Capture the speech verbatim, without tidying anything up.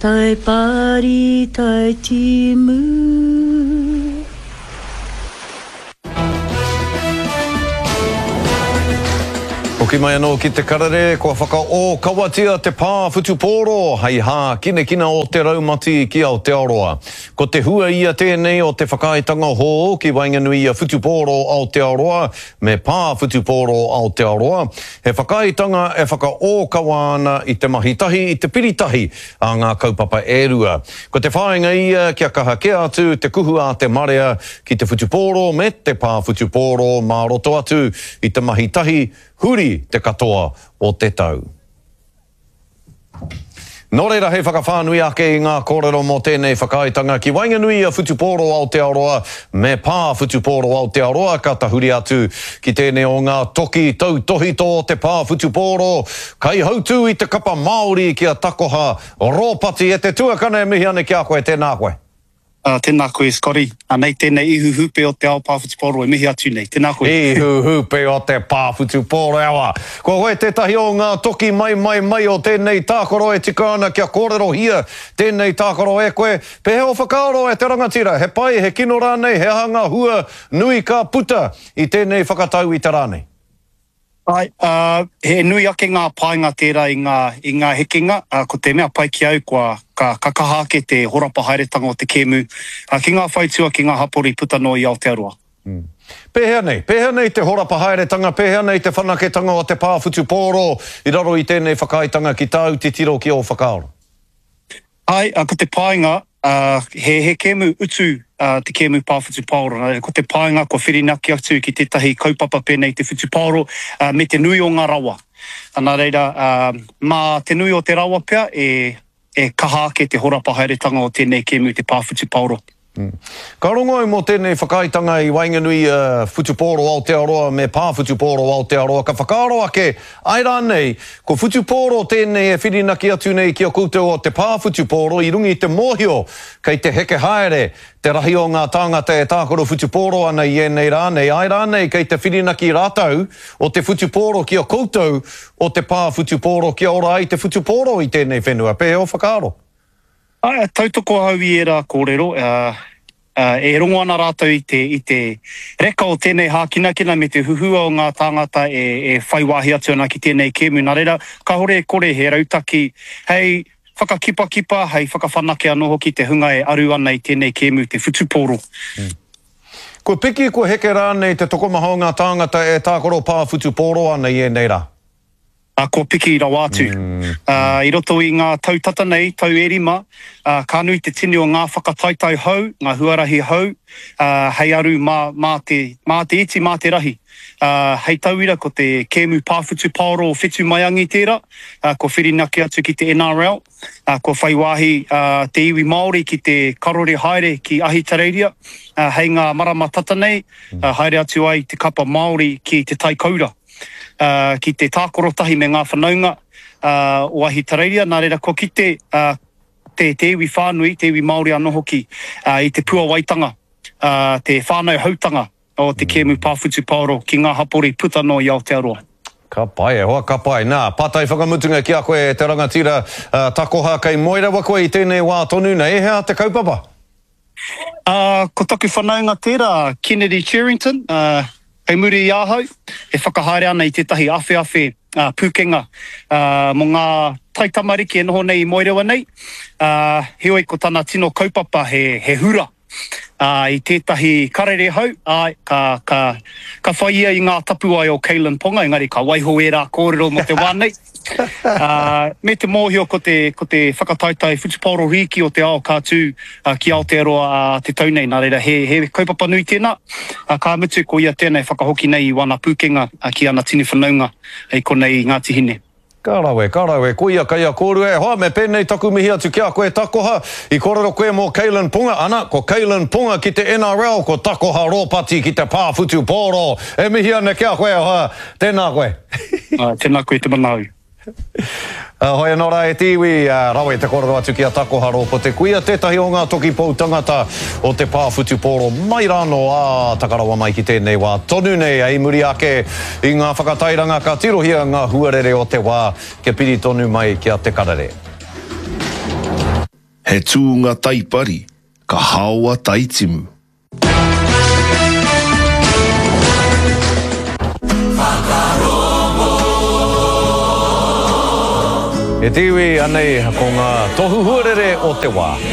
Tai pari, tai timu. Hoki mai anō ki te karere, kua whakaōkawatia te pā whutupōro hei hākinakina o te raumati ki Aotearoa. Ko te hua ia tēnei o te whakaaetanga hou ki waenganui i a Whutupōro Aotearoa me Pā Whutupōro Aotearoa, he whakaaetanga e whakaōkawa ana i te mahi tahi, i te piri tahi a ngā kaupapa e rua. Ko te whāinga ia kia kaha kē atu te kuhu a te marea ki te whutupōro me te pā whutupōro mā roto atu i te mahi tahi huri te katoa o te tau. Nō reira hei whakawhānui ake i ngā kōrero mō tēnei whakaaetanga ki waenganui i a Whutupōro Aotearoa me Pā Whutupōro Aotearoa ka tahuri atu ki tēnei o ngā toki tautōhito o te pā whutupōro, kaihautū i te kapa Māori ki a Takoha Ropati e te tuakana e mihi ana ki a koe, tēnā koe. Uh, tēnā koe, Scotty. Anei tēnei ihu hūpe o te ao pā whutupōro e mihi atu nei. Tēnā koe. Ihu hūpe o te pā whutupōro e awa. Ko koe tētahi o ngā toki mai mai mai o tēnei tākaro e tika ana kia kōrerohia tēnei tākaro e koe. Pēhea o whakaaro e te rangatira? He pai, he kino rānei, he aha ngā hua nui ka puta i tēnei whakatau i te rā nei? Āe, ā, he nui ake ngā painga tērā i ngā, i ngā hekenga, ā, ko te mea pai ki au kua, ka, ka kaha ake te horapa haeretanga o te kēmu, ā, ki ngā whaitua, ki ngā hapori puta noa i Aotearoa. Pēhea nei? Pēhea nei te horapa haeretanga, pēhea nei te whanaketanga o te pā whutupōro i raro i tēnei whakaaetanga ki tāu titiro ki ō whakaaro? Āe, ā, ko te painga, ā, he, he kēmu utu, ā, te kēmu pā whutupaoro. Nā reira, ko te painga kua whirinaki atu ki tētahi kaupapa pēnei i te whutupaoro, ā, me te nui o ngā rawa. Nā reira, ā, mā te nui o te rawa pea e, e kaha ake te horapa haeretanga o tēnei kēmu te pā whutupaoro. Ka rongo au mō tēnei whakaaetanga i waenganui i a Whutupōro Aotearoa me Pā Whutupōro Aotearoa, ka whakaaro ake, āe rānei, ko Whutupōro tēnei e whirinaki atu nei ki a koutou o te Pā Whutupōro i runga i te mōhio kei te heke haere te rahi o ngā tāngata e tākaro whutupōro ana i ēnei rā nei, āe rānei kei te whirinaki rātou o te whutupōro ki a koutou o te Pā Whutupōro kia ora ai te whutupōro i tēnei whenua. Pēhea ō whakaaro? Āe, tautoko ahau i ērā kōrero, e rongo ana rātou i te, i te reka o tēnei hākinakina me te huhua o ngā tāngata e, e whai wāhi atu ana ki tēnei kēmu. Nā reira, kāore e kore he rautaki hei whakakipakipa, hei whakawhanake anō hoki te hunga e aru ana i tēnei kēmu, te whutupōro. Kua piki, kua heke rānei te tokomaha o ngā tāngata e tākaro pā whutupōro ana i ēnei rā? Ā, kua piki rawa atu. Ā, i roto i ngā tau tata nei, tau e rima, ā, ka nui te tini o ngā whakataetae hou, ngā huarahi hou, ā, hei aru mā, mā te, mā te iti, mā te rahi. Ā, hei tauira ko te kēmu pā whutupaoro o Whetu Maiangi tērā, ā, kua whirinaki atu ki te N R L, ā, kua whai wāhi, ā, te iwi Māori ki te karore haere ki Ahitereiria, ā, hei ngā marama tata nei, ā, haere atu ai te kapa Māori ki Te Tai Koura. Ki te tākaro tahi me ngā whanaunga o Ahitereiria, nā reira kua kite te te iwi whānui, te iwi Māori anō hoki, i te puawaitanga, te whānau hautanga o te kēmu pā whutupaoro ki ngā hapori puta noa i Aotearoa. Ka pai e hoa, ka pai. Nā, pātai whakamutunga ki a koe e te rangatira takoha kei moe rawa koe i tēnei wā tonu nei, he aha te kaupapa? Ā, ko taku whanaunga tērā, Kennedy Cherrington, ā, kei muri i ahau, e whakahaere ana i tētahi awheawhe pūkenga mō ngā taitamariki e noho nei i Moerewa nei, ā, heoi ko tana tino kaupapa he, he hura, ā, i tētahi karere hou, āe, ka, ka, ka whai ia i ngā tapuwae o Kalyn Ponga, engari ka waiho ērā kōrero mō te wā nei. Ā, me te mōhio ko te, ko te whakataetae whutupaoro rīki o te ao ka tū ki Aotearoa ā te tau nei, nā reira he, he kaupapa nui tēnā, ā, ka mutu ko ia tēnā e whakahoki nei i wana pūkenga ki ana tini whanaunga i konei i Ngāti Hine. Ka rawe, ka rawe, koia kei a kōrua e hoa, me pēnei taku mihi atu ki a koe Takoha, i kōrero koe mō Kalyn Ponga, ana, ko Kalyn Ponga ki te N R L, ko Takoha Ropati ki te pā whutupōro, e mihi ana ki a koe e hoa, tēnā koe. Ā, tēnā koe te manaau. Hoi anō rā e te iwi, rawe te kōrero atu ki a Takoha Rōpote Kuia, tētahi o ngā toki pou tangata o te pā whutupōro mai rānō, ā, taka rawa mai ki tēnei wā tonu nei, i muri ake i ngā whakatairanga ka tirohia ngā huarere o te wā kia piri tonu mai ki a Te Karere. He tūnga taipari, ka haoa taitimu. E te iwi, anei ko ngā tohu huarere o te wā.